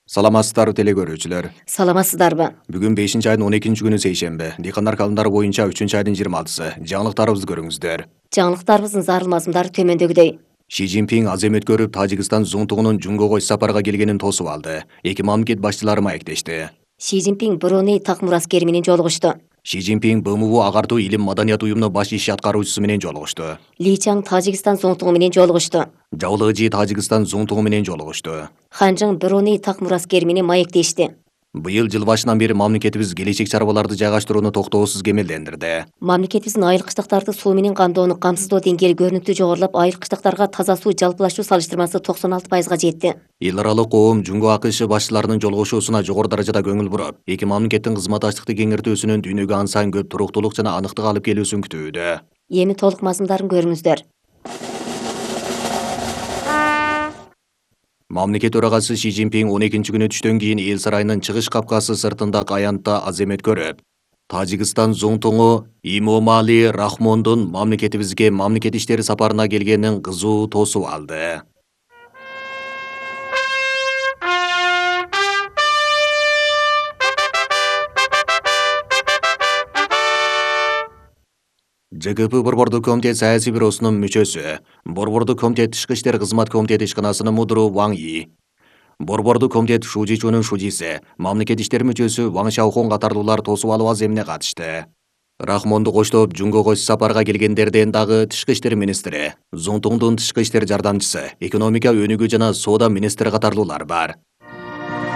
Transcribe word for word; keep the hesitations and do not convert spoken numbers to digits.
Саламатсыздарбы теле көрүүчүлөр. Саламатсыздарбы? Бүгүн бешинчи айдын он экинчи күнү сейшемби. Дыйкандар каалымдары боюнча үчүнчү айдын жыйырма алтысы. Жаңылыктарыбызды көрүңүздөр. Жаңылыктарыбыздын зарыл мазмундары төмөндөгүдөй. Ши Цзиньпин азем өткөрүп, Тажикстан зуңтугунун Жунгого иш сапарга келгенин тосуп алды. Эки мамлекет башчылары маектешти. Ши Цзиньпин Бруней так мураскери менен жолугушту. Ши Цзиньпин Б М В агартуу илим маданият уюмунун баш иш аткаруучусу менен жолугушту. Ли Чаң Тажикстан зуңтугу менен жолугушту. Жавлыжы Тажикстан зуңтугу менен жолугушту. Ханжың Бруней так мураскери менен маектешти. Быйыл жыл башынан бери мамлекетибиз келечек чарбаларды жайгаштырууну токтоосуз кемелдендирди. Мамлекетибиздин айыл кыштактарды суу менен камдоону камсыздоо деңгээли көрүнүктүү жогорулап, айыл кыштактарга таза суу жалпылашуу салыштырмасы токсон алты пайызга жетти. Эл аралык коом Жунго А К Ш башчыларынын жолугушуусуна жогору даражада көңүл буруп, эки мамлекеттин кызматташтыкты кеңейтүүсүнүн дүйнөгө ансаң көп туруктуулук жана аныктык алып келүүсүн күтүүдө. Эми толук мазмундарын көрүңүздөр. Мамлекет төрагасы Ши Цзиньпин он экинчи күнү түштөн кийин эл сарайынын чыгыш капкасы сыртындагы аянтта азем өткөрүп, Тажикстан зуңтугу Имомали Рахмондун мамлекетибизге мамлекет иштери сапарына келгенин кызуу тосуп алды. Ж К П Борбордук комитет саясий бюросунун мүчөсү, Борбордук комитет тышкы иштер кызмат комитети ишканасынын мудуру Ваң И, Борбордук комитет Шужичунун шужиси, мамлекет иштери мүчөсү Ваң Шаохон катарлуулар тосуп алуу аземине катышты. Рахмонду коштоп Жунгого иш сапарга келгендерден дагы тышкы иштер министри, Зуңтуңдун тышкы иштер жардамчысы, экономика өнүгүү жана соода министри катарлуулар бар.